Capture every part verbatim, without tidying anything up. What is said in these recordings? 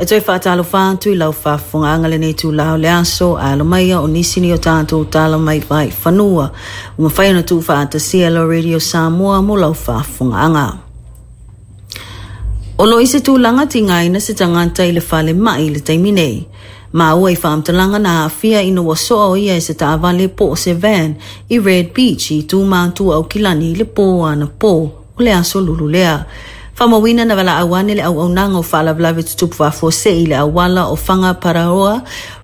E toe faatalofa atu i lau faafofogaaga lenei itulā o le aso, ae alo maia o nisi ni o tatou tala mai vaifanua ua mafai ona tuufaatasia e la Radio Samoa mo lau faafofogaaga. O lo o i se tulaga tigaina se tagata i le falemai i le taimi nei. Maua i faamatalaga na aafia ina ua soa o ia e se taavale po o se van i Red Beach i tu matua Aukilani i le pō anapo o le aso Lulu lea. Faamauina na valaau ane le auaunaga o faalavelave tutupu faafuasei i le auala o Whangaparaoa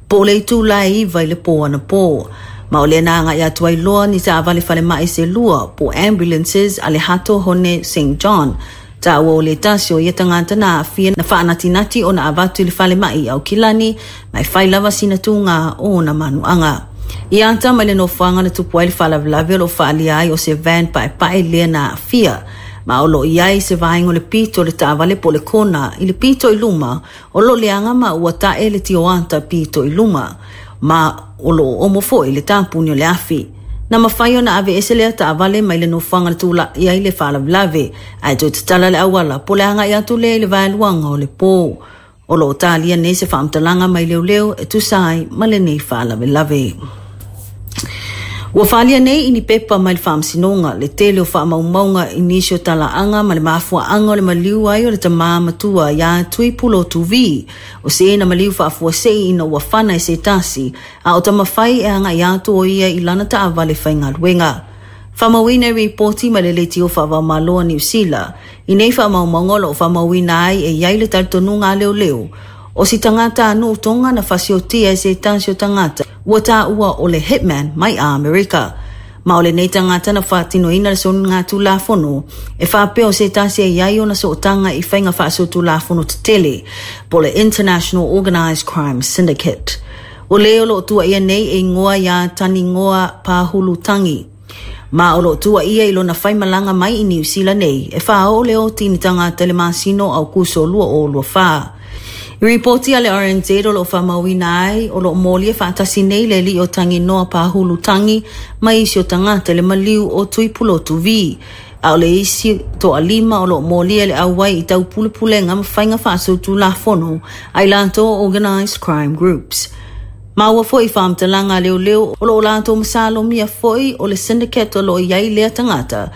po o le itula e iva i le pō anapo. Ma o lea na agai atu ai loa ni taavale falemai se lua po ambulances a le Hato Hone Saint John. Taua o le tasi o ia tagata na aafia na faanatinati ona avatu i le falemai i Aukilani ma e fai lava sina tūgā o ona manuaga. I ata mai le nofoaga na tupu ai le faalavelave o lo o faaalia ai o se van paepae lea na aafia. Ma o lo o i ai se vaega o le pito o le taavale po o le kona i le pito i luma o lo o leaga ma ua tae le tioata pito i luma. Ma o lo o omo foi le tapuni o le afi. Na mafai ona aveese lea taavale mai le nofoaga na tula'i ai le faalavelave ae toe tatala le auala po o le agai atu lea i le vaeluaga o le pō. O lo o talia nei se faamatalaga mai leoleo e tusa ai ma lenei faalavelave. Ua faaalia nei i ni pepa mai le faamasinoga le tele o faamaumauga i nisi o talaaga ma le mafuaaga o le maliu ai o le tamā matua iā Tuipulotu V o se na maliu faafuasei ina ua fana e se tasi a o taumafai e agai atu o ia i lana taavale faigaluega. Faamauina i ripoti ma le leitio faavaomalo a Niu Sila. I nei faamaumauga o lo o faamauina ai e i ai le talitonuga a leoleo o si tagata a nuu Tonga na fasiotia e se tasi o tagata ua taua o le hitman mai Amerika. Ma o lenei tagata na faatinoina le soligatulafono e faapea o se tasi e i ai ona sootaga i faiga faasolitulafono tetele po le International Organised Crime Syndicate. O le o lo o tuuaia nei e igoa iā Tanigoa Pahulu Tangi. Ma o lo o tuuaia i lona faimalaga mai i Niu Sila nei e faaoo le oti i ni tagata i le masina o Aukuso lua o lua fa. I ripoti a le R N Z o lo o faamauina ai o lo o molia faatasi nei le alii o Tanginoa Pahulu Tangi ma isi o tagata i le maliu o Tuipulotu V. A o le isi toalima o lo o molia le auai i taupulepulega ma faiga faasolitulafono a i latou o Organised Crime Groups. Ma ua foi faamatalaga a leoleo o lo o latou masalomia foi o le syndicate o lo o i ai lea tagata.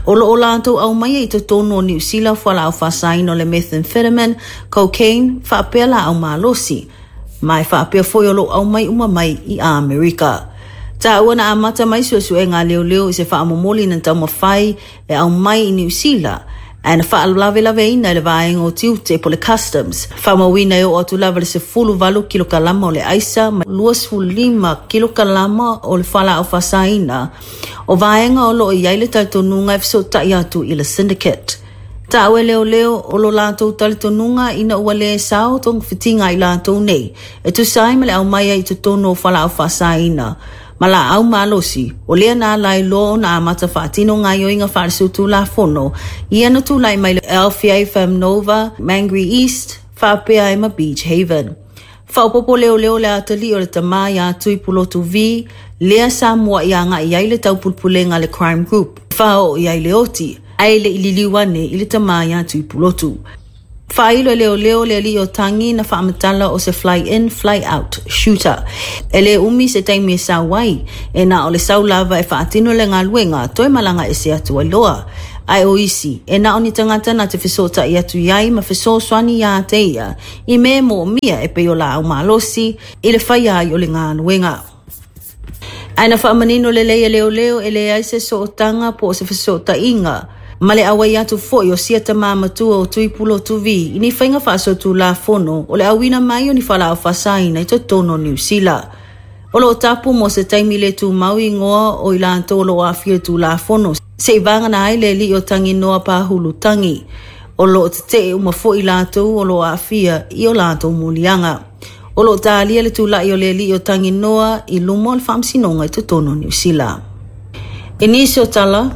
O lo o latou aumaia i totonu o Niu Sila fualaau faasaina o le methamphetamine, cocaine, faapea laau malosi. Ma e faapea foi o lo o aumai uma mai i Amerika. Taua na amata mai suesuega a leoleo i se faamomoli na taumafai e aumai i Niu Sila ae na faalavelaveina e le vaega o tiute po le customs. Faamauina e oo atu lava le sefulu valu kilokalama o le aisa ma luasefulu lima kilokalama o le fualaau faasaina o vaega o lo o i ai le talitonuga e fesootai atu i le syndicate. Taua e leoleo o lo latou talitonuga ina ua lē sao togafitiga i latou nei e tusa ai ma le aumaia i totonu o fualaau faasaina ma laau malosi o lea na ala ai loa ona amata faatino gaoioiga faalesolitulafono ia na tulai mai le Alfia Famnova, Mangere East, faapea ai ma Beach Haven. Faaopoopo leoleo le atalii o le tamā iā Tuipulotu V, lea sa muai agai ai le taupulepulega a le crime group. Faaoo i ai le oti, ae le i liliu ane i le tamā iā Tuipulotu. Faailo e leoleo le alii o Tangi na faamatala o se fly in, fly out shooter. E lē umi se taimi e sau ai, e na o le sau lava e faatino le galuega toe malaga ese atu ai loa. Ae o isi, e na o ni tagata na te fesootai atu i ai ma fesoasoani iā te ia, i mea e moomia e pei o laau malosi i le faia ai o le galuega. Ae na faamanino lelei e leoleo e leai se sootaga po o se fesootaiga ma le auai atu foi o sia tamā matua o Tuipulotu V i ni faiga faasolitulafono o le auina mai o ni fualaau faasaina i totonu o Niu Sila. O lo o tapu mo se taimi le tumau igoa o i latou o lo o aafia i le tulafono seia vagana ai le alii o Tanginoa Pahulu Tangi. O lo o tetee uma foi latou o lo o aafia i o latou moliaga. O lo o talia le tula'i o le alii o Tanginoa i luma o le faamasinoga i totonu o Niu Sila. I nisi o tala,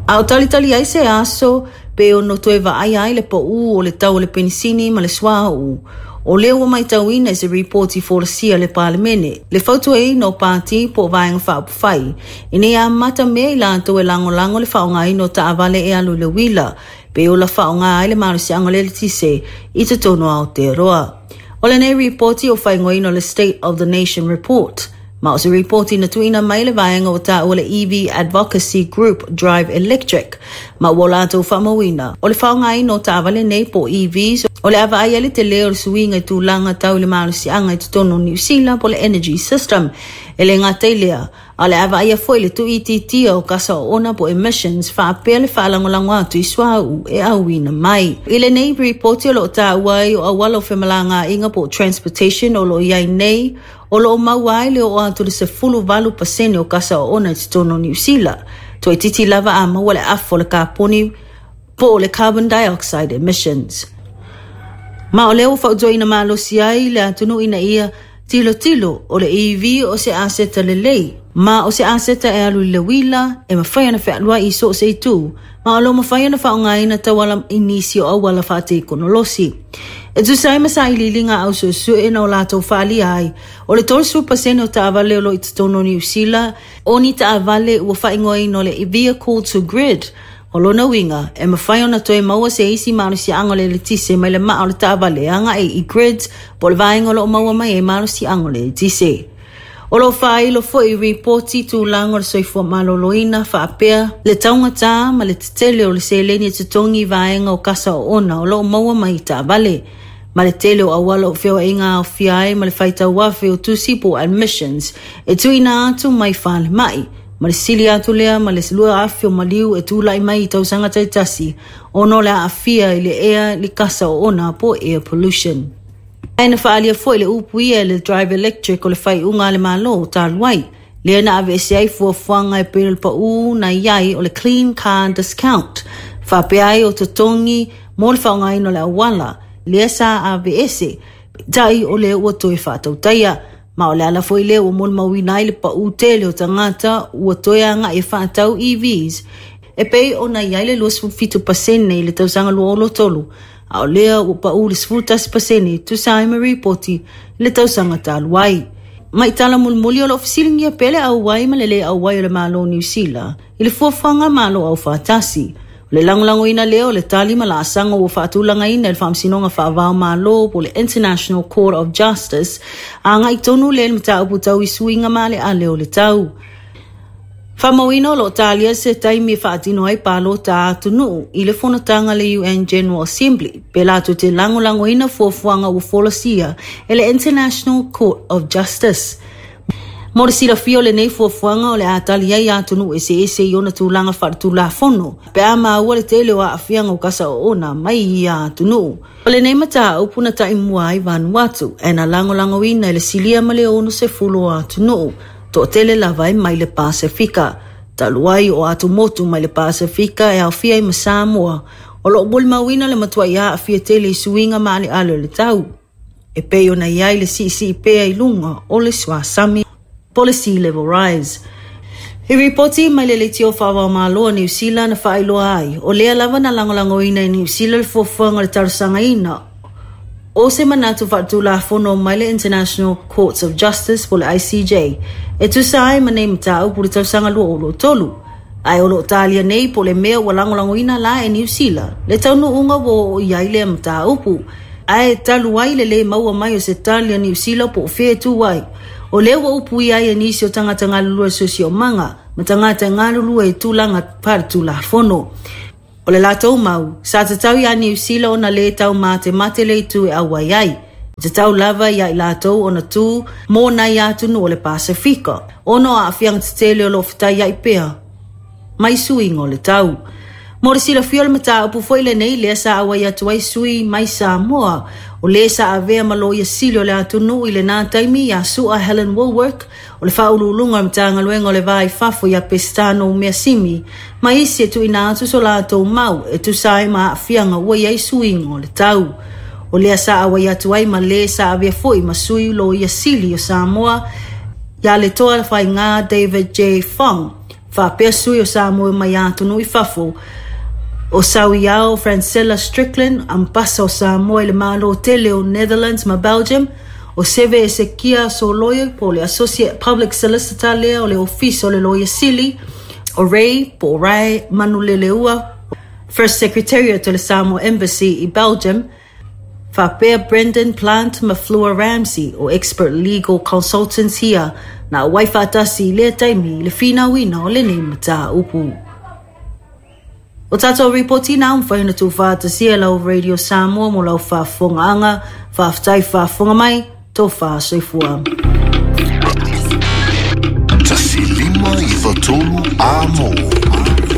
a o talitali ai se aso Pe ono toe vaaia ai le pau o le tau o le penisini ma le suauu. O lea ua matauina i se ripoti folasia i le Palemene, le fautuaina o pati po o vaega faaupufai, ina ia amata mea i latou e lagolago le faaaogaina o taavale e alu i le uila, pe ola faaaoga ai le malosiaga o le eletise i totonu o Aotearoa. O lenei ripoti o faaigoaina o le State of the Nation Report, ma o se ripoti na tuuina mai le vaega ua taua le E V Advocacy Group Drive Electric, ma ua latou faamauina o le faaaogaina o taavale nei po o E Vs o le a vaai ai le tele o le suiga i tulaga tau i le malosiaga i totonu o Niu Sila po o le Energy System. E le gata i lea, a o le a vaaia foi le tuuitiitia o kasa oona po o emissions faapea le faalagolago atu i suauu e auina mai. I lenei ripoti o lo o taua ai o auala o femalagaaiga po o transportation o lo o i ai nei, o lo o maua ai le oo atu le sefulu valu pasene o kasa oona i totonu o Niu Sila. Toeitiiti lava a maua le afa o le kaponi po o le carbon dioxide emissions. Ma o lea ua fautuaina malosi ai le atunuu ina ia tilotilo o le E V o se aseta lelei, ma o se aseta e alu i le uila e mafai ona fealuai i so o se itu, ma o lo mafai ona faaaogaina tauala i nisi o auala faatekonolosi. E tusa ai ma sailiiliga au suesue na o latou faaalia ai, o le tolusefulu pasene o taavale o lo o i totonu o Niu Sila, o ni taavale ua faaigoaina o le vehicle to grid. O lona uiga, e mafai ona toe maua se isi malosiaga o le eletise mai le maa o le taavale agai i grids po o le vaega o lo o maua mai ai malosiaga o le eletise. O lo o faailo foi ripoti tulaga o le soifua maloloina faapea le taugata ma le tetele o le seleni e totogi i vaega o kasa oona o lo o maua mai i taavale, ma le tele o auala o feoaiga aofia ai ma le faitauafe o tusi po o admissions e tuuina atu mai falemai, ma le sili atu lea ma le lua afe o maliu e tulai mai i tausaga taitasi ona o le aafia i le ea le kasa oona po o air pollution. Ae na faaalia foi le upu ia e le Drive Electric o le faaiuga a le Malo talu ai, lea na aveese ai fuafuaga e pei o le pau na i ai o le Clean Car Discount, faapea ai o totogi mo le faaaogaina o le auala, lea sa aveese, peitai o lea ua toe faatautaia. Ma o le ala foi lea ua molimauina ai le pau tele o tagata ua toe agai e faatau E Vs, e pei ona i ai le luasefulu fitu pasene i le tausaga lua olo tolu, a o lea ua pau le sefulu tasi pasene tusa ai ma ripoti i le tausaga talu ai. Mai tala mulimuli o lo o fesiligia pea le auai ma le le auai o le Malo o Niu Sila i le fuafuaga Malo Aufaatasi. O le lagolagoina lea o le tali ma laasaga ua faatulagaina i le Faamasinoga Faavao Malo po o le International Court of Justice, agai tonu lea i le mataupu tau i suiga maaleale o le tau. Faamauina o lo o talia se taimi e faatino ai palota a atunuu i le fonotaga le U N General Assembly, pe latou te lagolagoina fuafuaga ua folasia e le International Court of Justice. Mo le silafia o lenei fuafuaga o le a tali ai atunuu eseese i ona tulaga faaletulafono, pe a maua le tele o aafiaga o kasa oona mai i ia atunuu. O lenei mataupu na taimua ai Vanuatu, e na lagolagoina i le silia ma le onosefulu o atunuu, toatele lava e mai le Pasefika. Talu ai o atumotu mai le Pasefika e aofia ai ma Samoa, o lo o molimauina le matuai aafia tele i suiga maaleale o le tau. E pei ona i ai le siisii pea i luga o le suasami po o le sea level rise. I ripoti mai le leitio faavao Malo a Niu Sila na faailoa ai, o lea lava na lagolagoina i Niu Sila le fuafuaga o le talosagaina o se manatu faatulafono mai le International Courts of Justice po o le I C J, e tusa ai ma nei mataupu le tausaga lua olo tolu. Ae o lo o talia nei po o le mea ua lagolagoina la e Niu Sila, le taunuuga ua oo i ai lea mataupu. Ae talu ai le le maua mai o se tali a Niu Sila po o fea e tu ai. O lea ua upuia ai e nisi o tagata galulue siosiomaga ma tagata galulue i tulaga faaletulafono. O le latou mau, sa tatau ia Niu Sila ona le tau matemate le itu e auai ai. E tatau lava ia i latou ona tu mō nai atunuu o le Pasefika, ona o aafiaga tetele o lo o fetaiai pea mai suiga o le tau. Mo le silafia o le mataupu foi lenei lea sa auai atu ai sui mai Samoa, o le sa avea ma loia sili o le atunuu i lena taimi ia Sua Helen Wallwork, o le faauluuluga o le Matagaluega o le Va i Fafo ia Pestano Measimi, ma isi e tuuina atu so latou mau e tusa ai ma aafiaga ua i ai suiga o le tau. O lea sa auai atu ai ma le sa avea foi ma sui loia sili o Samoa ia le toa faiga David J. Fong, faapea sui o Samoa mai atunuu i fafo, O Sauiao Francella Strickland, ambasa o Samoa i le Malo tele o Netherlands ma Belgium. O Seve Esekia Soloio, po o le Associate Public Solicitor lea o le Ofisa o le Loia Sili. O Ray po o Ray Manuleleua, First Secretariat o le Samoa Embassy i Belgium. Faapea Brendan Plant ma Fleur Ramsey, o Expert Legal Consultants ia na auai faatasi i lea taimi i le finauina o lenei mataupu. O tātou ripoti na mafai ona tuufaatasia lau Radio Samoa mo lau faafofogaaga. Faafetai faafofoga mai, tofa soifua. Tasi lima iva tolu amo.